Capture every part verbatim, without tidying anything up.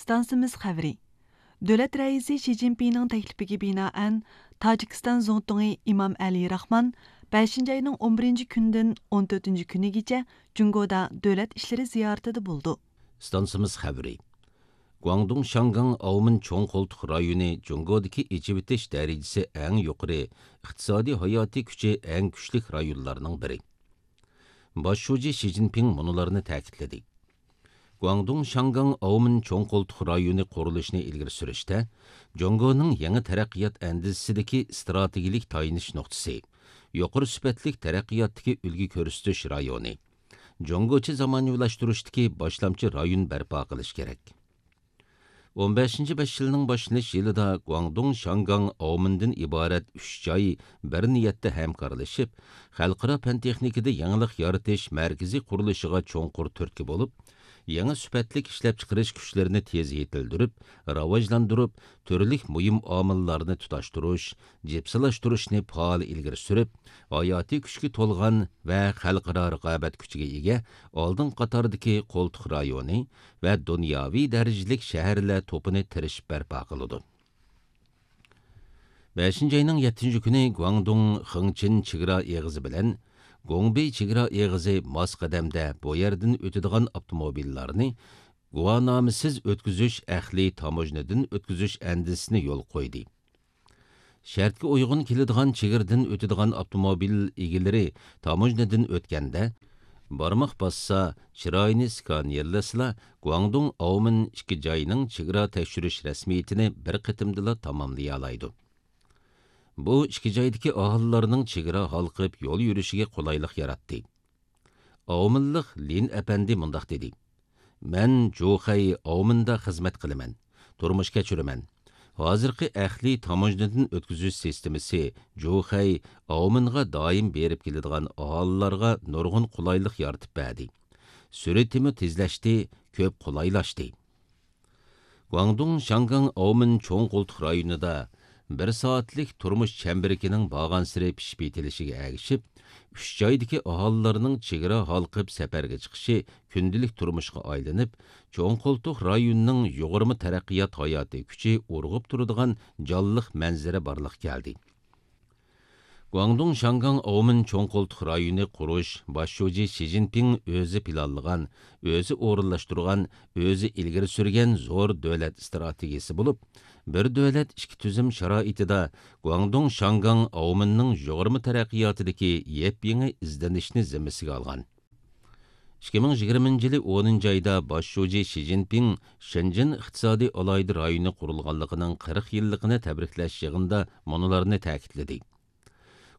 ئىستانسىمىز خەۋىرى. دۆلەت رەئىسى شى جىنپىڭنىڭ تەكلىپىگە بىنائەن، تاجىكىستان زۇڭتۇڭى ئىمام ئەلى راخمان بەشىنچى ئاينىڭ ئون بىرىنچى كۈنىدىن ئون تۆتىنچى كۈنىگىچە جۇڭگودا دۆلەت ئىشلىرى زىيارىتىدە بولىدۇ. ئىستانسىمىز خەۋىرى. گۇاڭدۇڭ شياڭگاڭ ئاۋمېن چوڭ قولتۇق رايونى جۇڭگودىكى ئېچىۋېتىش دەرىجىسى ئەڭ يۇقىرى، ئىقتىسادىي ھاياتىي كۈچى ئەڭ كۈچلۈك رايونلارنىڭ بىرى. باش شۇجى شى جىنپىڭ مۇنۇلارنى تەكىتلىدى. گۇاڭدۇڭ شياڭگاڭ ئاۋمېن چوڭ قولتۇق رايونى قۇرۇلۇشىنى ئىلگىرى سۈرۈشتە، جۇڭگونىڭ يېڭى تەرەققىيات ئەندىزىسىدىكى ئىستراتېگىيىلىك تايىنىش نۇقتىسى، يۇقىرى سۈپەتلىك تەرەققىياتتىكى ئۈلگە كۆرسىتىش رايونى، جۇڭگوچە زامانىۋىلاشتۇرۇشتىكى باشلامچى رايون بەرپا قىلىش كېرەك. ئون بەشىنچى بەش يىلنىڭ باشلىنىش يىلىدا گۇاڭدۇڭ شياڭگاڭ ئاۋمېندىن ئىبارەت ئۈچ جاي بىر نىيەتتە ھەمكارلىشىپ، خەلقئارا پەن تېخنىكىدا يېڭىلىق يارىتىش مەركىزى قۇرۇلۇشىغا چوڭقۇر تۈرتكە بولۇپ، يېڭى سۈپەتلىك ئىشلەپچىقىرىش كۈچلىرىنى تېز يېتىلدۈرۈپ، راۋاجلاندۇرۇپ، تۈرلۈك مۇھىم ئامىللارنى تۇتاشتۇرۇش، جىپسىلاشتۇرۇشنى پائال ئىلگىرى سۈرۈپ، ھاياتىي كۈچكە تولغان ۋە خەلقئارا رىقابەت كۈچىگە ئىگە ئالدىنقى قاتاردىكى قولتۇق رايونى ۋە دۇنياۋى دەرىجىلىك شەھەرلەر توپىنى تىرىشىپ بەرپا قىلىدۇ. بەشىنچى ئاينىڭ يەتتىنچى كۈنى گۇاڭدۇڭ خېڭچىن چېگرا ئېغىزى بىلەن گۇڭبېي چېگرا ئېغىزى ماس قەدەمدە بۇ يەردىن ئۆتىدىغان ئاپتوموبىللارنى گۇۋاھنامىسىز ئۆتكۈزۈش ئەقلىي تاموژنىدىن ئۆتكۈزۈش ئەندىزىسىنى يولغا قويدى. شەرتكە ئۇيغۇن كېلىدىغان چېگرىدىن ئۆتىدىغان ئاپتوموبىل ئىگىلىرى تاموژنىدىن ئۆتكەندە، بارماق باسسا، چىرايىنى سكانېرلىسىلا، گۇاڭدۇڭ ئاۋمېن ئىككى جاينىڭ چېگرا تەكشۈرۈش رەسمىيىتىنى بىر قېتىمدىلا تاماملىيالايدۇ. بۇ ئىككى جايدىكى ئاھالىلەرنىڭ چېگرا ھالقىپ يول يۈرۈشىگە قولايلىق ياراتتى. ئاۋمېنلىق لىن ئەپەندى مۇنداق دېدى: مەن جۇخەي ئاۋمېندا خىزمەت قىلىمەن، تۇرمۇش كەچۈرىمەن. ھازىرقى ئەقلىي تاموژنىدىن ئۆتكۈزۈش سىستېمىسى جۇخەي ئاۋمېنغا دائىم بېرىپ كېلىدىغان ئاھالىلارغا نۇرغۇن قولايلىق يارىتىپ بەردى. سۈرئىتىمۇ تېزلەشتى، كۆپ قولايلاشتى. گۇاڭدۇڭ شياڭگاڭ ئاۋمېن چوڭ قولتۇق رايونىدا بىر سائەتلىك تۇرمۇش چەمبىرىكىنىڭ بارغانسېرى پىشىپ يېتىلىشىگە ئەگىشىپ، ئۈچ جايدىكى ئاھالىلەرنىڭ چېگرا ھالقىپ سەپەرگە چىقىشى كۈندىلىك تۇرمۇشقا ئايلىنىپ، چوڭ قولتۇق رايونىنىڭ يۇغۇرما تەرەققىيات ھاياتىي كۈچى ئۇرغۇپ تۇرىدىغان جانلىق مەنزىرە بارلىققا كەلدى. گۇاڭدۇڭ شياڭگاڭ ئاۋمېن چوڭ قولتۇق رايونى قۇرۇش باش شۇجى شى جىنپىڭ ئۆزى پىلانلىغان، ئۆزى ئورۇنلاشتۇرغان، ئۆزى ئىلگىرى سۈرگەن زور دۆلەت ئىستراتېگىيىسى بولۇپ، بىر دۆلەت ئىككى تۈزۈم شارائىتىدا گۇاڭدۇڭ شياڭگاڭ ئاۋمېننىڭ يۇغۇرما تەرەققىياتىدىكى يېپيېڭى ئىزدىنىشنى زىممىسىگە ئالغان. ئىككى مىڭ يىگىرمىنچى يىلى ئونىنچى ئايدا باش شۇجى شى جىنپىڭ شېنجېن ئىقتىسادىي ئالاھىدە رايونى قۇرۇلغانلىقىنىڭ قىرىق يىللىقىنى تەبرىكلەش يىغىنىدا مۇنۇلارنى تەكىتلىدى.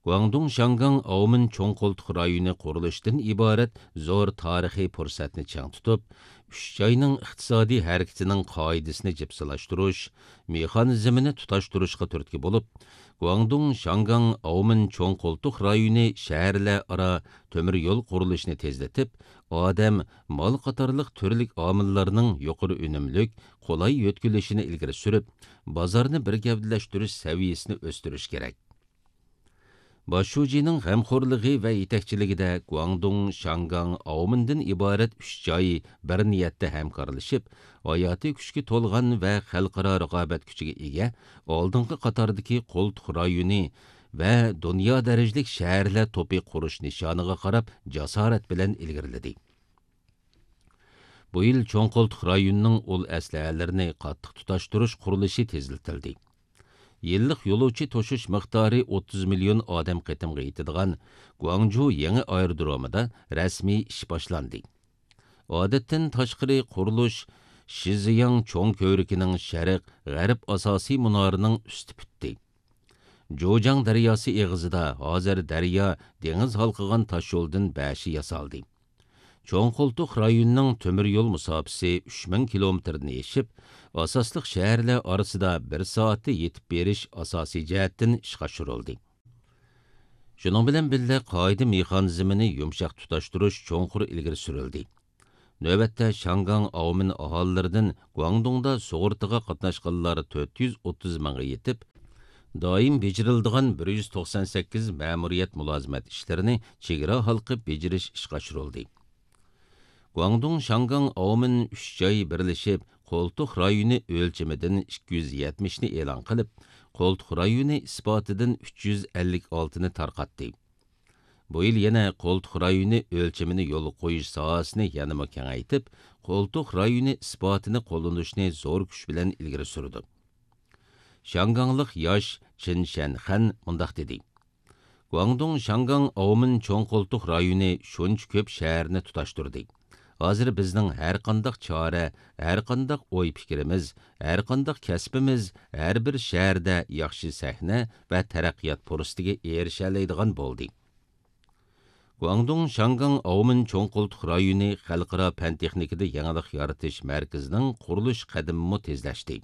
گۇاڭدۇڭ شياڭگاڭ ئاۋمېن چوڭ قولتۇق رايونى قۇرۇلۇشىدىن ئىبارەت زور تارىخىي پۇرسەتنى چىڭ تۇتۇپ، ئۈچ جاينىڭ ئىقتىسادىي ھەرىكىتىنىڭ قائىدىسىنى جىپسىلاشتۇرۇش، مېخانىزمىنى تۇتاشتۇرۇشقا تۈرتكە بولۇپ، گۇاڭدۇڭ شياڭگاڭ ئاۋمېن چوڭ قولتۇق رايونى شەھەرلەر ئارا تۆمۈر يول قۇرۇلۇشىنى تېزلىتىپ، ئادەم، مال قاتارلىق تۈرلۈك ئامىللارنىڭ يۇقىرى ئۈنۈملۈك، قولاي يۆتكىلىشىنى ئىلگىرى سۈرۈپ، بازارنى بىر گەۋدىلەشتۈرۈش سەۋىيەسىنى ئۆستۈرۈش كېرەك. باش شۇجىنىڭ غەمخورلۇقى ۋە يېتەكچىلىكىدە گۇاڭدۇڭ شياڭگاڭ ئاۋمېندىن ئىبارەت ئۈچ جاي بىر نىيەتتە ھەمكارلىشىپ، ھاياتىي كۈچكە تولغان ۋە خەلقئارا رىقابەت كۈچىگە ئىگە ئالدىنقى قاتاردىكى قولتۇق رايونى ۋە دۇنيا دەرىجىلىك شەھەرلەر توپى قۇرۇش نىشانىغا قاراپ جاسارەت بىلەن ئىلگىرىلىدى. بۇ يىل چوڭ قولتۇق رايونىنىڭ ئۇل ئەسلىھەلىرىنى قاتتىق تۇتاشتۇرۇش قۇرۇلۇشى تېزلىتىلدى. يىللىق يولۇچى توشۇش مىقدارى ئوتتۇز مىليون ئادەم قېتىمغا يېتىدىغان گۇاڭجۇ يېڭى ئايرودرومىدا رەسمىي ئىش باشلاندى. ئادەتتىن تاشقىرى قۇرۇلۇش شىزياڭ چوڭ كۆۋرۈكىنىڭ شەرق، غەرب ئاساسىي مۇنارىنىڭ ئۈستى پۈتتى. جۇجياڭ دەرياسى ئېغىزىدا ھازىر دەريا، دېڭىز ھالقىغان تاشيولدىن بەشى ياسالدى. چوڭ قولتۇق رايونىنىڭ تۆمۈر يول مۇساپىسى ئۈچ مىڭ كىلومېتىردىن ئېشىپ، ئاساسلىق شەھەرلەر ئارىسىدا بىر سائەتتە يېتىپ بېرىش ئاساسىي جەھەتتىن ئىشقا ئاشۇرۇلدى. شۇنىڭ بىلەن بىللە، قائىدە مېخانىزمىنى يۇمشاق تۇتاشتۇرۇش چوڭقۇر ئىلگىرى سۈرۈلدى. نۆۋەتتە شياڭگاڭ ئاۋمېن ئاھالىلىرىدىن گۇاڭدۇڭدا سۇغۇرتىغا قاتناشقانلار تۆت يۈز ئوتتۇز مىڭغا يېتىپ، دائىم بېجىرىلىدىغان بىر يۈز توقسان سەككىز مەمۇرىيەت مۇلازىمەت ئىشلىرىنى چېگرا ھالقىپ بېجىرىش ئىشقا ئاشۇرۇلدى. گۇاڭدۇڭ شياڭگاڭ ئاۋمېن ئۈچ جاي بىرلىشىپ، قولتۇق رايونى ئۆلچىمىدىن ئىككى يۈز يەتمىشنى ئېلان قىلىپ، قولتۇق رايونى ئىسپاتىدىن ئۈچ يۈز ئەللىك ئالتىنى تارقاتتى. بۇ يىل يەنە قولتۇق رايونى ئۆلچىمىنى يولغا قويۇش ساھەسىنى يەنىمۇ كېڭەيتىپ، قولتۇق رايونى ئىسپاتىنى قوللىنىشنى زور كۈچ بىلەن ئىلگىرى سۈرىدۇ. شياڭگاڭلىق ياش چىن شەنخەن مۇنداق دېدى: گۇاڭدۇڭ شياڭگاڭ ئاۋمېن چوڭ قولتۇق رايونى شۇنچە كۆپ شەھەرنى تۇتاشتۇردى. ھازىر بىزنىڭ ھەرقانداق چارە، ھەرقانداق ئوي پىكرىمىز، ھەرقانداق كەسپىمىز ھەر بىر شەھەردە ياخشى سەھنە ۋە تەرەققىيات پۇرسىتىگە ئېرىشەلەيدىغان بولدى. گۇاڭدۇڭ شياڭگاڭ ئاۋمېن چوڭ قولتۇق رايونى خەلقئارا پەن تېخنىكىدا يېڭىلىق يارىتىش مەركىزىنىڭ قۇرۇلۇش قەدىمىمۇ تېزلەشتى.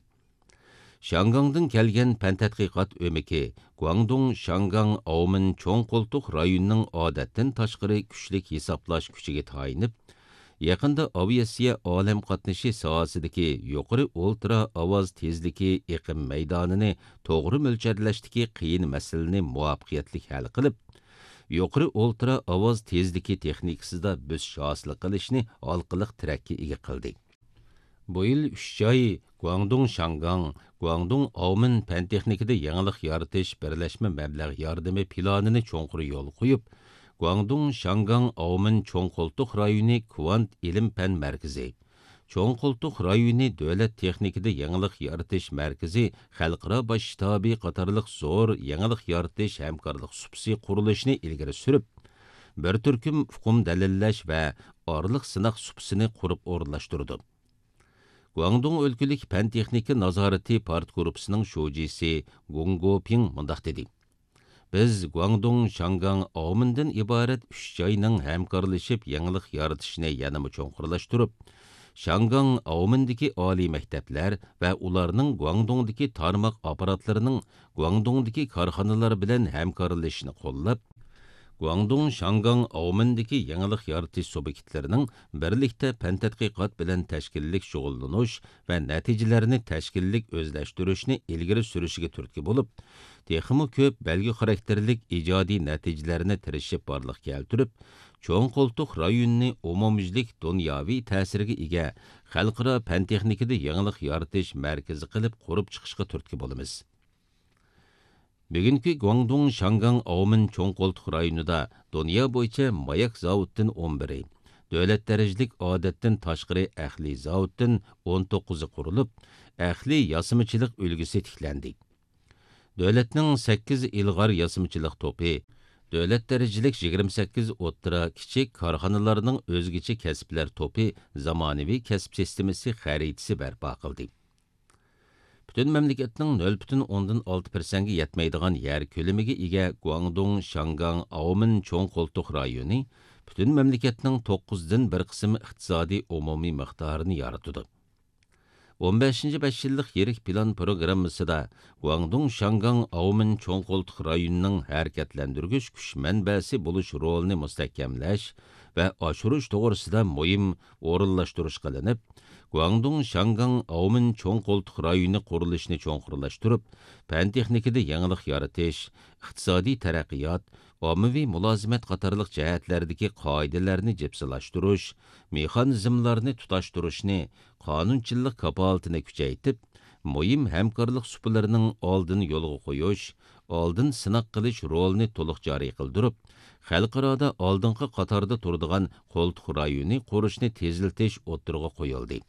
شياڭگاڭدىن كەلگەن پەن تەتقىقات ئۆمىكى گۇاڭدۇڭ شياڭگاڭ ئاۋمېن چوڭ قولتۇق رايونىنىڭ ئادەتتىن تاشقىرى كۈچلۈك ھېسابلاش كۈچىگە تايىنىپ، يېقىندا ئاۋىئاتسىيە ئالەم قاتنىشى ساھەسىدىكى يۇقىرى ئولترا ئاۋاز تېزلىكى ئېقىم مەيدانىنى توغرا مۆلچەرلەشتىكى قىيىن مەسىلىنى مۇۋەپپەقىيەتلىك ھەل قىلىپ، يۇقىرى ئولترا ئاۋاز تېزلىكى تېخنىكىسىدا بۆسۈش ھاسىل قىلىشنى ھالقىلىق تىرەككە ئىگە قىلدى. بۇ يىل ئۈچ جاي گۇاڭدۇڭ شياڭگاڭ، گۇاڭدۇڭ ئاۋمېن پەن تېخنىكىدا يېڭىلىق يارىتىش بىرلەشمە مەبلەغ ياردىمى پىلانىنى چوڭقۇر يولغا قويۇپ، گۇاڭدۇڭ شياڭگاڭ ئاۋمېن چوڭ قولتۇق رايونى كۋانت ئىلىم پەن مەركىزى، چوڭ قولتۇق رايونى دۆلەت تېخنىكىدا يېڭىلىق يارىتىش مەركىزى خەلقئارا باش شتابى قاتارلىق زور يېڭىلىق يارىتىش ھەمكارلىق سۇپىسى قۇرۇلۇشىنى ئىلگىرى سۈرۈپ، بىر تۈركۈم ئۇقۇم دەلىللەش ۋە ئارىلىق سىناق سۇپىسىنى قۇرۇپ ئورۇنلاشتۇرىدۇ. گۇاڭدۇڭ ئۆلكىلىك پەن تېخنىكا نازارىتى پارتگۇرۇپپىسىنىڭ شۇجىسى گۇڭ گوپىڭ مۇنداق دېدى: بىز گۇاڭدۇڭ شياڭگاڭ ئاۋمېندىن ئىبارەت ئۈچ جاينىڭ ھەمكارلىشىپ يېڭىلىق يارىتىشىنى يەنىمۇ چوڭقۇرلاشتۇرۇپ، شياڭگاڭ ئاۋمېندىكى ئالىي مەكتەپلەر ۋە ئۇلارنىڭ گۇاڭدۇڭدىكى تارماق ئاپپاراتلىرىنىڭ گۇاڭدۇڭدىكى كارخانىلار بىلەن ھەمكارلىشىشىنى قوللاپ، گۇاڭدۇڭ شياڭگاڭ ئاۋمېندىكى يېڭىلىق يارىتىش سۇبيېكتلىرىنىڭ بىرلىكتە پەن تەتقىقات بىلەن تەشكىللىك شۇغۇللىنىش ۋە نەتىجىلەرنى تەشكىللىك ئۆزلەشتۈرۈشنى ئىلگىرى سۈرۈشىگە تۈرتكە بولۇپ، تېخىمۇ كۆپ بەلگە خاراكتېرلىك ئىجادىي نەتىجىلەرنى تىرىشىپ بارلىققا كەلتۈرۈپ، چوڭ قولتۇق رايونىنى ئومۇميۈزلۈك دۇنياۋى تەسىرگە ئىگە خەلقئارا پەن تېخنىكىدا يېڭىلىق يارىتىش مەركىزى قىلىپ قۇرۇپ چىقىشقا تۈرتكە بولىمىز. بۈگۈنكى گۇاڭدۇڭ شياڭگاڭ ئاۋمېن چوڭ قولتۇق رايونىدا دۇنيا بويىچە ماياك زاۋۇتتىن ئون بىرى، دۆلەت دەرىجىلىك ئادەتتىن تاشقىرى ئەقلىي زاۋۇتتىن ئون توققۇزى قۇرۇلۇپ، ئەقلىي ياسىمىچىلىق ئۈلگىسى تىكلەندى. دۆلەتنىڭ سەككىز ئىلغار ياسىمىچىلىق توپى، دۆلەت دەرىجىلىك يىگىرمە سەككىز ئوتتۇرا، كىچىك كارخانىلارنىڭ ئۆزگىچە كەسىپلەر توپى زامانىۋى كەسىپ سىستېمىسى خەرىتىسى بەرپا قىلدى. پۈتۈن مەملىكەتنىڭ نۆل پۈتۈن ئوندىن ئالتە پىرسەنتكە يەتمەيدىغان يەر كۆلىمىگە ئىگە گۇاڭدۇڭ شياڭگاڭ ئاۋمېن چوڭ قولتۇق رايونى پۈتۈن مەملىكەتنىڭ توققۇزدىن بىر قىسىم ئىقتىسادىي ئومۇمىي مىقدارىنى يارىتىدۇ. ئون بەشىنچى بەش يىللىق يىرىك پىلان پروگراممىسىدا گۇاڭدۇڭ شياڭگاڭ ئاۋمېن چوڭ قولتۇق رايونىنىڭ ھەرىكەتلەندۈرگۈچ كۈچ مەنبەسى بولۇش رولىنى مۇستەھكەملەش ۋە ئاشۇرۇش توغرىسىدا مۇھىم ئورۇنلاشتۇرۇش قىلىنىپ، گۇاڭدۇڭ شياڭگاڭ ئاۋمېن چوڭ قولتۇق رايونى قۇرۇلۇشىنى چوڭقۇرلاشتۇرۇپ، پەن تېخنىكىدا يېڭىلىق يارىتىش، ئىقتىسادىي تەرەققىيات، ئاممىۋى مۇلازىمەت قاتارلىق جەھەتلەردىكى قائىدىلەرنى جىپسىلاشتۇرۇش، مېخانىزملارنى تۇتاشتۇرۇشنى، قانۇنچىلىق كاپالىتىنى كۈچەيتىپ، مۇھىم ھەمكارلىق سۇپىلىرىنىڭ ئالدىنى يولغا قويۇش، ئالدىن سىناق قىلىش رولىنى تولۇق جارى قىلدۇرۇپ، خەلقئارادا ئالدىنقى قاتاردا تۇرىدىغان قولتۇق رايونى قۇرۇشنى تېزلىتىش ئوتتۇرىغا قويۇلدى.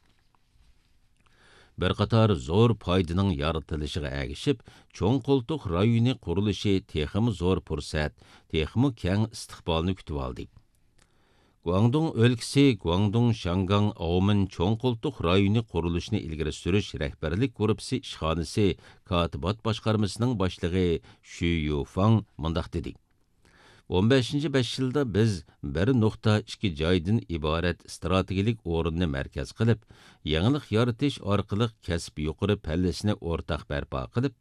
بىر قاتار زور پايدىنىڭ يارىتىلىشىغا ئەگىشىپ، چوڭ قولتۇق رايونى قۇرۇلۇشى تېخىمۇ زور پۇرسەت، تېخىمۇ كەڭ ئىستىقبالنى كۈتۈۋالدى. گۇاڭدۇڭ ئۆلكىسى گۇاڭدۇڭ شياڭگاڭ ئاۋمېن چوڭ قولتۇق رايونى قۇرۇلۇشىنى ئىلگىرى سۈرۈش رەھبەرلىك گۇرۇپپىسى ئىشخانىسى كاتىبات باشقارمىسىنىڭ باشلىقى شۈ يۇفاڭ مۇنداق دېدى: ئون بەشىنچى بەش يىلدا بىز بىر نۇقتا ئىككى جايدىن ئىبارەت ئىستراتېگىيەلىك ئورۇننى مەركەز قىلىپ، يېڭىلىق يارىتىش ئارقىلىق كەسىپ يۇقىرى پەللىسىنى ئورتاق بەرپا قىلىپ،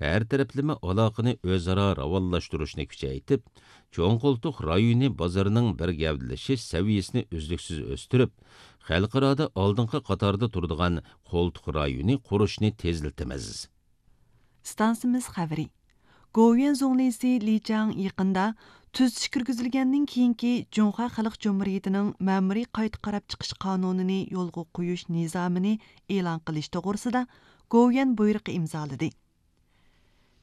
ھەر تەرەپلىمە ئالاقىنى ئۆزئارا راۋانلاشتۇرۇشنى كۈچەيتىپ، چوڭ قولتۇق رايونى بازىرىنىڭ بىر گەۋدىلىشىش سەۋىيەسىنى ئۈزلۈكسىز ئۆستۈرۈپ، خەلقئارادا ئالدىنقى قاتاردا تۇرىدىغان قولتۇق رايونى قۇرۇشنى تېزلىتىمىز. ئىستانسىمىز خەۋىرى. گوۋۇيۈەن زۇڭلىسى لى چاڭ يېقىندا تۈزىتىش كىرگۈزۈلگەندىن كېيىنكى جۇڭخۇا خەلق جۇمھۇرىيىتىنىڭ مەمۇرىي قايتا قاراپ چىقىش قانۇنىنى يولغا قويۇش نىزامىنى ئېلان قىلىش توغرىسىدا گوۋۇيۈەن بۇيرۇقى ئىمزالىدى.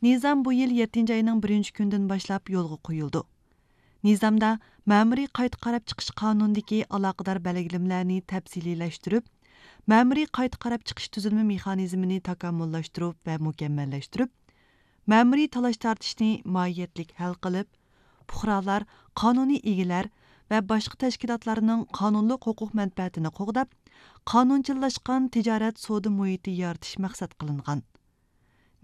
نىزام بۇ يىل يەتتىنچى ئاينىڭ بىرىنچى كۈنىدىن باشلاپ يولغا قويۇلىدۇ. نىزامدا مەمۇرىي قايتا قاراپ چىقىش قانۇنىدىكى ئالاقىدار بەلگىلىمىلەرنى تەپسىلىيلەشتۈرۈپ، مەمۇرىي قايتا قاراپ چىقىش تۈزۈلمە مېخانىزمىنى تاكامۇللاشتۇرۇپ ۋە مۇكەممەللەشتۈرۈپ، مەمۇرىي تالاش-تارتىشنى ماھىيەتلىك ھەل قىلىپ، پۇقرالار، قانۇنىي ئىگىلەر ۋە باشقا تەشكىلاتلارنىڭ قانۇنلۇق ھوقۇق مەنپەئەتىنى قوغداپ، قانۇنچىللاشقان تىجارەت سودا مۇھىتى يارىتىش مەقسەت قىلىنغان.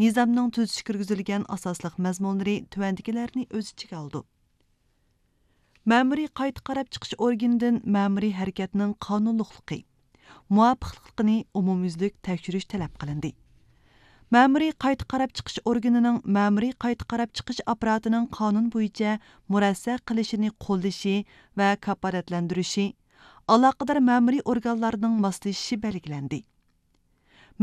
نىزامنىڭ تۈزىتىش كىرگۈزۈلگەن ئاساسلىق مەزمۇنلىرى تۆۋەندىكىلەرنى ئۆز ئىچىگە ئالىدۇ. مەمۇرىي قايتا قاراپ چىقىش ئورگىنىدىن مەمۇرىي ھەرىكەتنىڭ قانۇنلۇقلۇقى، مۇۋاپىقلىقىنى ئومۇميۈزلۈك تەكشۈرۈش تەلەپ قىلىندى. مەمۇرىي قايتا قاراپ چىقىش ئورگىنىنىڭ مەمۇرىي قايتا قاراپ چىقىش ئاپپاراتىنىڭ قانۇن بويىچە مۇرەسسە قىلىشىنى قوللىشى ۋە كاپالەتلەندۈرۈشى، ئالاقىدار مەمۇرىي ئورگانلارنىڭ ماسلىشىشى بەلگىلەندى.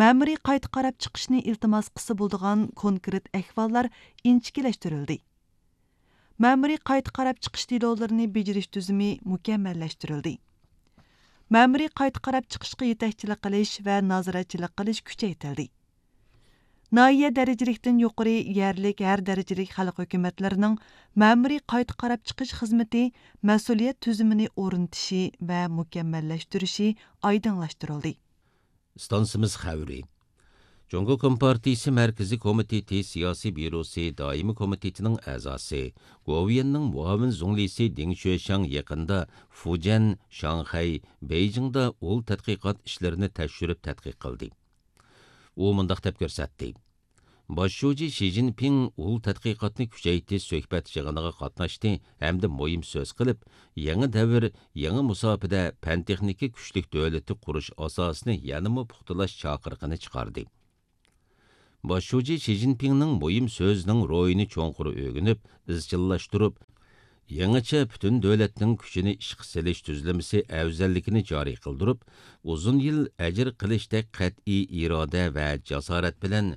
مەمۇرىي قايتا قاراپ چىقىشنى ئىلتىماس قىلسا بولىدىغان كونكرېت ئەھۋاللار ئىنچىكىلەشتۈرۈلدى. مەمۇرىي قايتا قاراپ چىقىش دېلولىرىنى بېجىرىش تۈزۈمى مۇكەممەللەشتۈرۈلدى. مەمۇرىي قايتا قاراپ چىقىشقا يېتەكچىلىك قىلىش ۋە نازارەتچىلىك قىلىش كۈچەيتىلدى. ناھىيە دەرىجىلىكتىن يۇقىرى يەرلىك ھەر دەرىجىلىك خەلق ھۆكۈمەتلىرىنىڭ مەمۇرىي قايتا قاراپ چىقىش خىزمىتى مەسئۇلىيەت تۈزۈمىنى ئورنىتىشى ۋە مۇكەممەللەشتۈرۈشى ئايدىڭلاشتۇرۇلدى. ئىستانسىمىز خەۋىرى. جۇڭگو كومپارتىيىسى مەركىزىي كومىتېتى سىياسىي بيۇروسى دائىمىي كومىتېتىنىڭ ئەزاسى، گوۋۇيۈەننىڭ مۇئاۋىن زۇڭلىسى دېڭ شۈەشياڭ يېقىندا فۇجيەن، شاڭخەي، بېيجىڭدا ئۇل تەتقىقات ئىشلىرىنى تەكشۈرۈپ تەتقىق قىلدى. ئۇ مۇنداق دەپ كۆرسەتتى: باش شۇجى شى جىنپىڭ ئۇل تەتقىقاتنى كۈچەيتىش سۆھبەت يىغىنىغا قاتناشتى ھەمدە مۇھىم سۆز قىلىپ، يېڭى دەۋر، يېڭى مۇساپىدە پەن-تېخنىكا كۈچلۈك دۆلىتى قۇرۇش ئاساسىنى يەنىمۇ پۇختىلاش چاقىرىقىنى چىقاردى. باش شۇجى شى جىنپىڭنىڭ مۇھىم سۆزىنىڭ روھىنى چوڭقۇر ئۆگىنىپ، ئىزچىللاشتۇرۇپ، يېڭىچە پۈتۈن دۆلەتنىڭ كۈچىنى ئىشقا سېلىش تۈزۈلمىسى ئەۋزەللىكىنى جارى قىلدۇرۇپ، ئۇزۇن يىل ئەجىر قىلىشتەك قەتئىي ئىرادە ۋە جاسارەت بىلەن